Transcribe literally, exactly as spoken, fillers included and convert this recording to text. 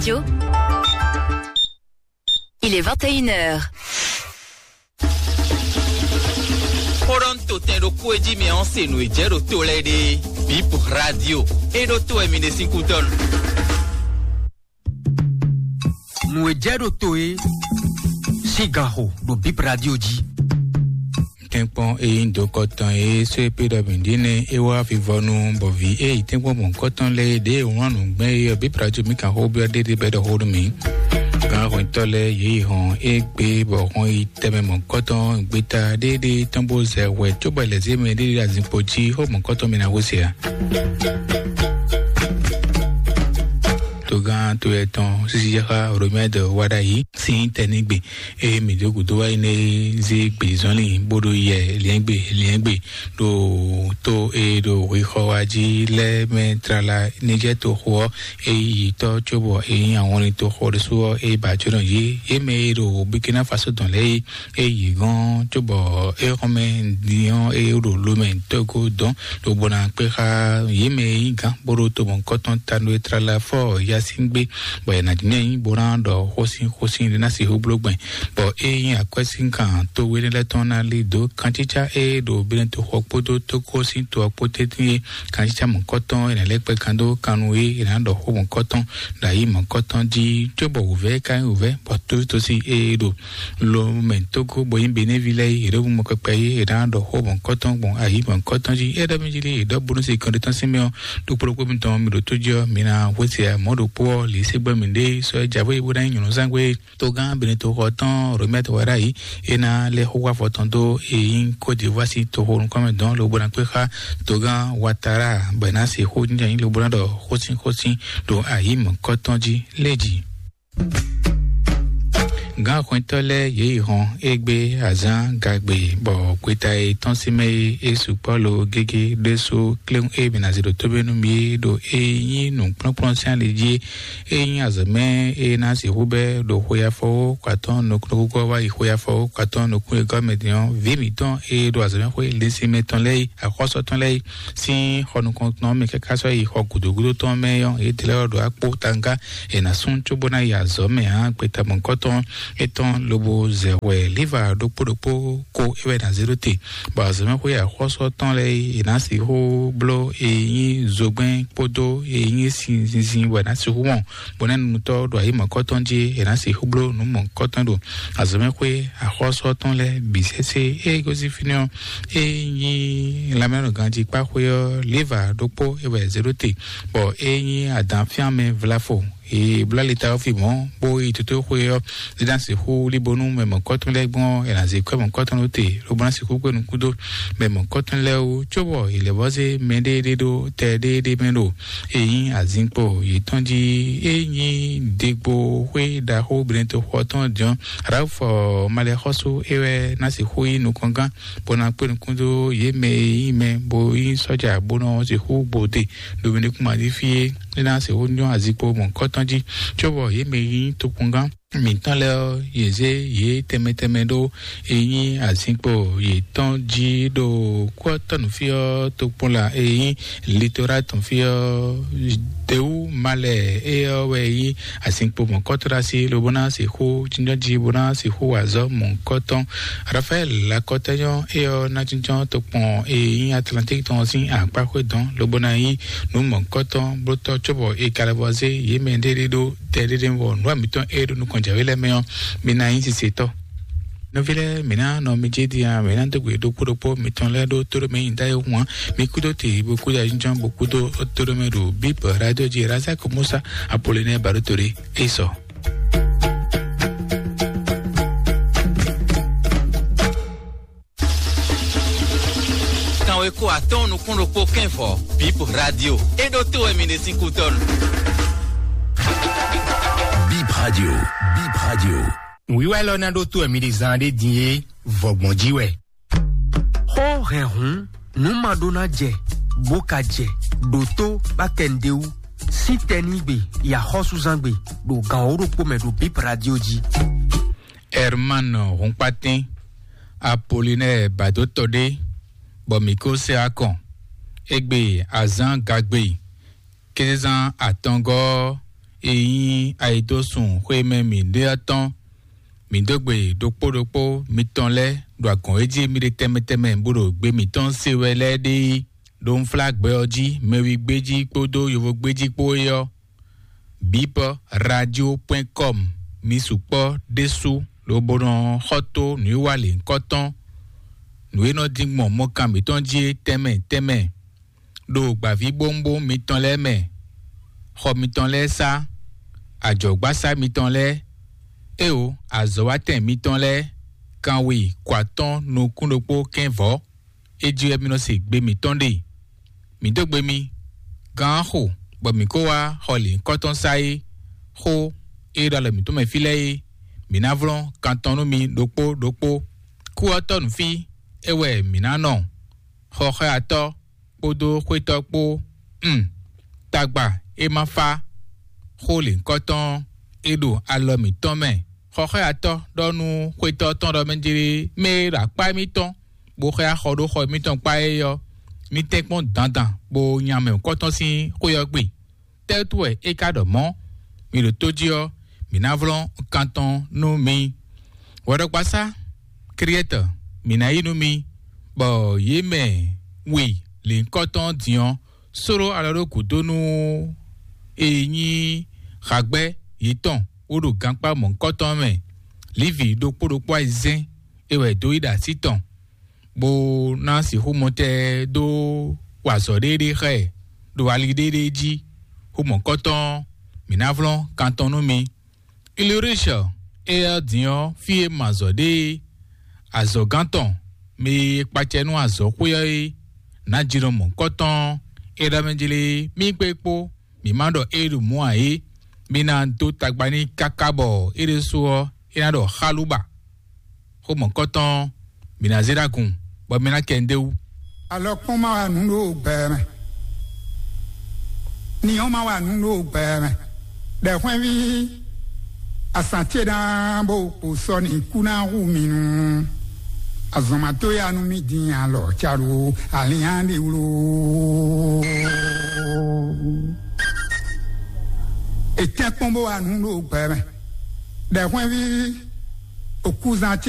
Radio. Il est vingt et une heures. Xó ɖɔ un to tɛn ɖokpó e jí mi ɔ́ se nǔ e jɛ ɖo to lɛ́ɛ ɖe. Bip Radio. E ɖo to wɛ mi ɖe sín kútɔ́nu. Nǔ e jɛ ɖo to e sín ganxo ɖo Bip Radio jí. Tɛ́nkpɔ́n e nyí dokɔtɔn e sɔ́ e pé ɖɔ mǐ ɖíe nɛ́ é wá vivɔnu bɔ vǐ e yi tɛ́nkpɔ́n mɔ̌hunkɔtɔn lɛ́ɛ e ɖě e wlán nǔgbɛ́ é ɔ́, Bíbla jí mǐ kan xó byɔ́ ɖéɖé bɔ é ɖɔ xó nú mǐ. Gǎn hwɛntɔ́ lɛ́ɛ yě yi hɔn égbé bɔ hɔn yi tɛnmɛ mɔ̌hunkɔtɔn gbeta ɖéɖé tɔn bó zɛ hwɛ cóbɔ è lɛ̌ zé mɛ ɖéɖé ɖo azinkpo jí xó mɔ̌hunkɔtɔn mǐ ná xó se ǎ. Togán to yɛ tɔn sísí yáxá Romɛ́d wá ɖ'ayǐ sín tɛnígbe. Eye mǐ dó gǔdo wá yi nɛ zé gbězɔnlin bó ɖo yɛ liɛ́ngbè liɛ́ngbè ɖo tó e ɖo hwexɔ wá jí lɛ́ɛ mɛ tlala ní jɛ toxo ɔ́, é yi tɔ́ cóbɔ é nyí ahɔnlin toxo ɖésú ɔ́, é ba jǒnɔ yě. Yě mɛ e ɖo Burkina Faso dɔn lɛ́ɛ é, é yi gɔ́n cóbɔ é xɔmɛ din ɔ́, é ɖo lomɛ tɔ́go dɔn ɖo bó ná kpé xá yě mɛ e nyí gǎn bó ɖo to mɔ̌hunkɔtɔn ta nú é tlala fɔ Yasín gbé. Bɔ è nǎ jínjɔ́n ayǐ bó ná ɖɔ xósin xósin ɖé ná sixú bló gbɛn, bɔ é nyí akwɛ́sínkàn to énɛ́ lɛ́ɛ tɔn ná lí dǒ kancícá e ɖo Benɛtoxɔ kpódó Tógó sín to ɔ́ kpó tɛ́ntin é. Kancícá mɔ̌kɔ́tɔn è nǎ lɛ́ kpɛ kan dó kan nú é, è nǎ ɖɔ xó mɔ̌kɔ́tɔn ɖo ayǐ mɔ̌kɔ́tɔn jí, cóbɔ wǔvɛ́ ka nyí wǔvɛ́, bɔ tósítósí e ɖo lo mɛ Tógó bɔ nyí Benévi lɛ́ɛ é, yě ɖo mɔ kpɛkpɛ é, è nǎ ɖɔ xó mɔ̌kɔ́tɔn gbɔn ayǐ mɔ̌kɔ́tɔn jí. É ɖɔ mì jí lé, è ɖɔ bónú se kɔn ɖé tɔn sín mɛ ɔ́, ɖokpó ɖokpó mitɔn mi ɖo tó jí ɔ́, mi ná hwesɛ mɔ̌ ɖokpó ɔ́, lǐ se gbɛ́ mǐɖée sɔ́ é jǎwe bó ná nyí nyɔ̌nu zán gbé. Togán Benɛtoxɔ tɔn Romɛ́t wɛ ɖ'ayǐ, é ná lɛ́ xó wá afɔ tɔn dó e nyí Côte d'Ivoire sín toxo nukɔn mɛ dɔn lobo ná kpé xá togán Ouattara, bɔ è nǎ se xó jínjɔ́n lobo ná ɖɔ xósin xósin ɖo ayǐ mɔ̌kɔ́tɔn jí lé jí. Gǎn hwɛntɔ́ lɛ́ɛ yě yi hɔn égbé azǎn gagbe, bɔ gbeta e tɔ́n sín mɛ é, é sukpɔ́ lo gégé ɖésú kléwún e mǐ ná zé ɖo tóbé nú mi é ɖo e nyí nǔkplɔ́nkplɔ́n sín ali jí é. É nyí azɔ̌ mɛ e ná sixú bɛ́ ɖo xwe afɔwó kpatɔ́n nukúnnú wá yi xwe afɔwó kpatɔ́n nukún e gɔ́ mɛ din ɔ́, vǐ mǐtɔn e ɖo azɔ̌mɛxwé linsin mɛ tɔn lɛ́ɛ yi, axɔ́sɔ tɔn lɛ́ɛ yi sín xɔ nukɔntɔn mɛ káká sɔ́ yi xɔ gǔdo gúdo tɔn mɛ ɔ́, yě tlɛ ɔ́ ɖo akpó tanga è nǎ sún cóbó ná yi azɔ̌ mɛ ǎ. Gbeta mɔ̌kɔ́tɔn étɔn lobo zɛ hwɛ líva ɖokpó ɖokpó ko é wɛ ná zé ɖó te, bɔ azɔ̌mɛxwé axɔ́sɔ tɔn lɛ́ɛ yi è nǎ sixú bló e nyí zogbɛ́n kpódó e nyí sin zinzin wɛ ná sixú wɔn, bɔ nɛ́ nunutɔ́ ɖo ayǐ mɔ̌kɔ́tɔn jí è nǎ sixú bló nǔ mɔ̌kɔ́tɔn ɖo azɔ̌mɛxwé axɔ́sɔ tɔn lɛ́ɛ bǐ sésé. Ée gosín fínɛ́ ɔ́, é nyí lanmɛnɔganjíkpáxwé ɔ́, léva ɖokpó é wɛ zé ɖó te, bɔ é nyí adǎnfyánmɛ vlafo. È bló ali ta ɔ́ fi mɔ̌, bó yi tótóxwe ɔ́, é ná sixú líbónú mɛ mɔ̌kɔ́tɔn lɛ́ɛ gbɔn ɔ́, è nǎ zé kwɛ́ mɔ̌kɔ́tɔn lɛ́ɛ te, lobo ná sixú kpé nukún dó mɛ mɔ̌kɔ́tɔn lɛ́ɛ wú, cóbɔ è lɛ̌ vɔ́ zé mɛɖéeɖé ɖó tɛ ɖéeɖé mɛ ɖo e nyí azinkpo yětɔn jí. É nyí degbo xwé ɖaxó Benɛtoxɔ tɔn jɔn Ralph Malɛxɔ́sú é wɛ ná sixú nyí nukɔngán, bó ná kpé nukún dó yě mɛ e nyí mɛ bó nyí sɔ́ja bó nɔ sixú gbode ɖo Benɛkúmají fí é. É ná sixú nyɔ́ azinkpo mɔ̌kɔ́tɔn jí, cóbɔ yě mɛ e nyí tokpɔngán mǐtɔn lɛ́ɛ ɔ́, yě zé yě tɛnmɛ tɛnmɛ ɖó e nyí azinkpo yětɔn jí ɖo kútɔ́nú fí ɔ́, tokpɔnla e nyí litora tɔn fí ɔ́, Dewu Malɛ é ɔ́ wɛ nyí azinkpo mɔ̌kɔ́tɔ́ ɖo así, lobo ná sixú jínjɔ́n jí, bó ná sixú wa azɔ̌ mɔ̌kɔ́tɔn. Rafaɛl Lakɔtɛnyɔ é ɔ́ ná jínjɔ́n tokpɔn e nyí Atlantík tɔn sín akpáxwé dɔn, lobo ná nyí nǔ mɔ̌kɔ́tɔn blótɔ́, cóbɔ è ka lɛ́ vɔ zé yě mɛ ɖéɖé ɖó tɛ ɖéɖé wɔ nǔ wa mǐtɔn e ɖo nukɔn jǎwe lɛ́ɛ mɛ ɔ́, mi ná nyí sisetɔ́. Nɔví lɛ́ɛ, mǐ ná nɔ mi jí din a, mǐ ná dó gbe ɖokpó ɖokpó mitɔn lɛ́ɛ ɖó tóɖó mɛ nyi dá e hú ǎ. Mi kúdó te bó kúdó ayǐjínjɔ́n bó kúdó tóɖó mɛ ɖo Bíbl Radio jí Razak Musa Apolinɛ Baɖótole é sɔ. Kanwe ko atɔ́ɔ́n nukún ɖokpó kɛ́nvɔ, Bíbl Radio. É ɖó tó wɛ mi ɖe sín kútɔ́nu. Bíbl Radio. Bíbl Radio. Nǔwiwa élɔ́ ná ɖó tó wɛ mi ɖe zán ɖé din é, vɔ̌gbɔn jí wɛ. Xó hɛn hǔn, nǔ ma ɖó ná jɛ, bó ka jɛ, ɖǒtó bá kɛ nǔɖé wú. Sín tɛnígbe, yi axɔ́súzángbe, ɖo gan wǒ ɖokpó mɛ ɖo Bíbl Radio jí. Herman Hunkpatín, Apolinɛ́ɛ Bǎdótɔ́ ɖé, bɔ mǐ ko sɛ akɔn. Égbé azǎn gagbe, kézezán atɔngɔ́ ɔ́, e nyí ayidósun xwémɛ mǐɖée ɔ́ tɔn. Mǐ dó gbe ɖokpó ɖokpó mitɔn lɛ́ɛ ɖo agɔ̌n e jí mì ɖe tɛnmɛ tɛnmɛ bó ɖo gbe mǐtɔn se wɛ lɛ́ɛ ɖe é. Ɖo unflágbɛ ɔ́ jí, mɛwigbéjí kpódó yovógbéjí kpó é ɔ́, bip radio point com. Mi sukpɔ́ ɖésú lobo nɔ xɔ tó nǔwiwa lěhunkɔtɔn, nǔ e nɔ dín gbɔn mɔkan mǐtɔn jí é tɛnmɛ tɛnmɛ, ɖo gbǎvíbówúnbówún mitɔn lɛ́ɛ mɛ, xɔ mitɔn lɛ́ɛ sá, ajɔ̌gbásá mitɔn lɛ́ɛ, éwo, azɔ̌watɛn mitɔn lɛ́ɛ, kanwe kɔ atɔ́ɔ́n nukún ɖokpó kɛ́nvɔ̌. É jí wɛ mi nɔ se gbe mǐtɔn ɖe. Mǐ dó gbe mi, gǎn xo, bɔ mǐ kó wá xɔ lǐnkɔ́tɔn sá é. Xó e ɖo alɔ mǐtɔn mɛ fí lɛ́ɛ é, mǐ ná vlɔ́n kan tɔn nú mi ɖokpó ɖokpó. Kú ɔ́ tɔ́ nǔ fí, é wɛ mǐ ná nɔ. Xɔxɔ́yatɔ́ kpódó xwétɔ́ kpó. Um, tagba e ma fa xó lěhunkɔtɔn ɔ́, é ɖo alɔ mǐtɔn mɛ. Xɔxɔ́yatɔ́ ɖɔ nú xwétɔ́ tɔn ɖɔ mɛ jlé mɛ e ɖo akpá émítɔn bó xlɛ́ axɔ ɖó xɔ émítɔn kpá é ɔ́, mì tɛ́nkpɔ́n dandan bó nya mɛ nǔkɔntɔn sín xwé ɔ́ gbe. Tɛ́ wútu wɛ é ka ɖɔ mɔ̌? Mi ɖo tó jí ɔ́, mǐ ná vlɔ́n kan tɔn nú mi. Hwɛɖɔgbasá Kriɛ́tɔ, mǐ ná yí nú mi, bɔ yě mɛ we lěhunkɔtɔn din ɔ́, sóló alɔ ɖó gǔdo nú e nyí hagbɛ́ yětɔn wó ɖo gankpá mɔ̌hunkɔtɔn mɛ. Lǐvi ɖokpó ɖokpó ayizɛ́n é wɛ dó yí ɖo así tɔn, bó ná sixú mɔtɛn dó wa azɔ̌ ɖéeɖée xá ɛ ɖo ali ɖéeɖée jí. Xó mɔ̌hunkɔtɔn ɔ́, mǐ ná vlɔ́n kan tɔn nú mi. Ilirishɔ é ɔ́ din ɔ́, fí e ma azɔ̌ ɖe é, azɔ̌gán tɔn, mɛ e kpacɛ nú azɔ̌xwé ɔ́ é, nǎjínɔ mɔ̌hunkɔtɔn ɔ́, é ɖɔ mɛ jlé mì kpé kpó, mǐ ma ɖɔ é ɖo mɔ̌ ǎ é. Mi ná dó tagba n'i káká bɔ é ɖésú ɔ́, é ná ɖɔ xálúba. Xó mɔ̌hunkɔtɔn ɔ́, mǐ ná zé ɖó agun, bɔ mi ná kɛ ndéwú. Alɔkpɔ́n ma wa nǔ ɖo gbɛ mɛ. Ni ɔ́ ma wa nǔ ɖo gbɛ mɛ. Ɖɛ̌hwɛ́nví, asǎn ce ná bó kpo sɔ n'i kú ná hu mi nu. Azɔ̌ ma tó ya nú mì dín alɔ ca ɖo alǐnnyá ɖé wló. È tɛ́nkpɔ́n bó wa nǔ ɖo gbɛ mɛ. Ɖɛ̌hwɛ́nví, òkúzan ce